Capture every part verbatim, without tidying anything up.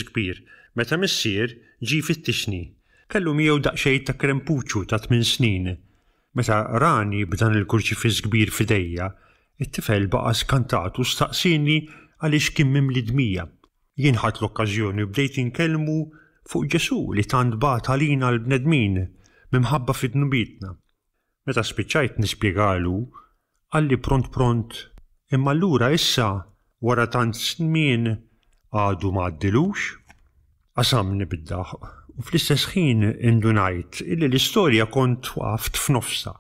Kbir meta missier ġie jfittixni. Kellu miegħu daqsxejn ta' krempuċu ta' tmien snin. Meta rani b'dan il-kurċifiss kbir f'idejja, it-tifel baqa' skantat u staqsieni għaliex kien mimli dmija. Jien ħadt l-okkażjoni u bdejt inkellmu fuq Ġesù li tant bagħat għalina l-bnedmin minħabba fi dnubietna. Meta spiċċajt nispjegalu, qalli pront pront, imma allura issa wara tant żmien għadu ma għaddilux? Qasamni bid-daħq u fl-istess ħin indunajt illi l-istorja kont waqaft f'nofsha,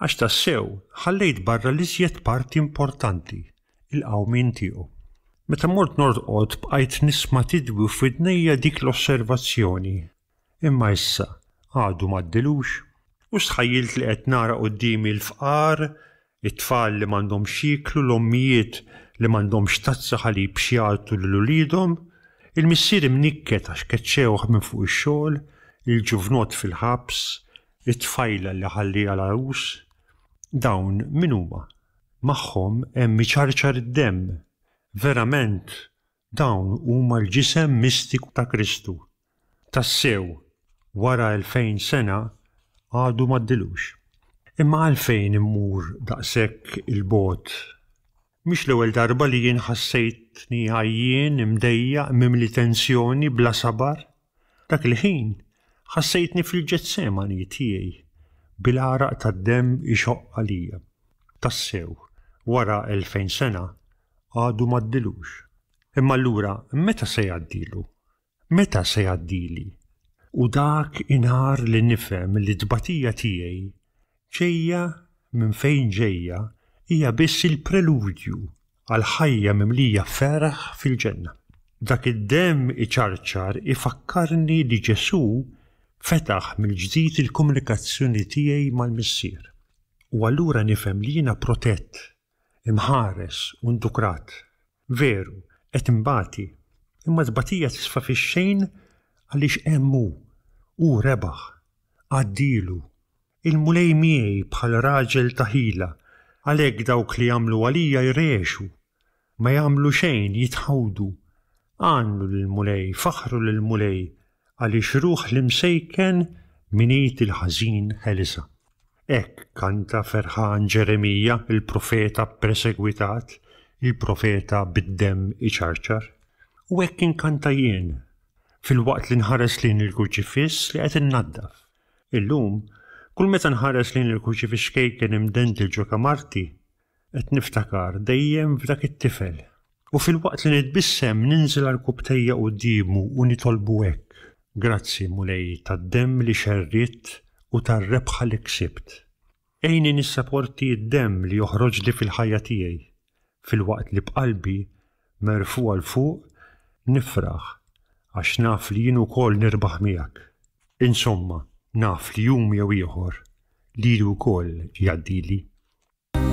għax tassew ħallejt barra l-iżjed parti importanti, il-qawmien tiegħu. Meta mort norqod bqajt nisma' tidwi f'widnejja dik l-osservazzjoni. Imma issa għadu m'għaddilux? U stħajjilt li qed nara quddiemi l-fqar, it-tfal li m'għandhomx x'jieklu, l-ommijiet li m'għandhomx tazza ħalib x'jagħtu lil uliedhom, il-missier imnikket għax keċċewh minn fuq ix-xogħol, il-ġuvnott fil-ħabs, it-tfajla li ħalliha l-għarus. Dawn min huma? Magħhom hemm iċarċar id-demm. Verament, dawn huma l-ġisem mistiku ta' Kristu. Tassew, wara elfejn sena għadu m'għaddilux. Imma għalfejn immur daqshekk il-bogħod? Mhix l-ewwel darba li jien ħassejtni għajjien, imdejjaq, mimli tensjoni, bla sabar. Dak il-ħin ħassejtni fil-Ġetsemani tiegħi, bil-għaraq tad-demm ixoqq għalija. Tassew, wara elfejn sena għadu m'għaddilux. Imma allura meta se jgħaddilu? Meta se jgħaddili? U dak inhar li nifhem li t-tbatija tiegħi ġejja minn fejn ġejja hija biss il-preludju għal ħajja mimlija ferħ fil-ġenna. Dak id-demm iċarċar ifakkarni li Ġesù fetaħ mill-ġdid il-komunikazzjoni tiegħi mal-Missier. U allura nifhem li jiena protett, imħares u ndukrat. Veru, qed imbati, imma tbatija tisfa fix-xejn għaliex hemm hu, hu rebaħ, għaddilu. Il-Mulej miegħi bħal raġel ta' ħila, għalhekk dawk li jagħmlu għalija jrexu, ma jagħmlu xejn jitħawdu. Għannu lill-Mulej, faħru lill-Mulej, għaliex ruħ l-imsejken minn id il-ħażin ħelisha. Hekk kanta ferħan Ġeremija, il-profeta persegwitat, il-profeta bid-demm iċarċar. U hekk inkanta jien, filwaqt li nħares lejn il-kurċifiss li qed innaddaf. Illum, kull meta nħares lejn il-kurċifiss ċkejken imdendel ġo kamarti, qed niftakar dejjem f'dak it-tifel. U filwaqt li nitbissem ninżel għarkupptejja quddiemu u nitolbu hekk. Grazzi Mulej tad-demm li xerridt u tar-rebħa li ksibt. Għinni nissaporti d-demm li joħroġli fil-ħajja tiegħi, filwaqt li b'qalbi merfugħa 'l fuq nifraħ għax naf li jien ukoll nirbaħ miegħek. Insomma, naf li jum jew ieħor lili wkoll jgħaddili.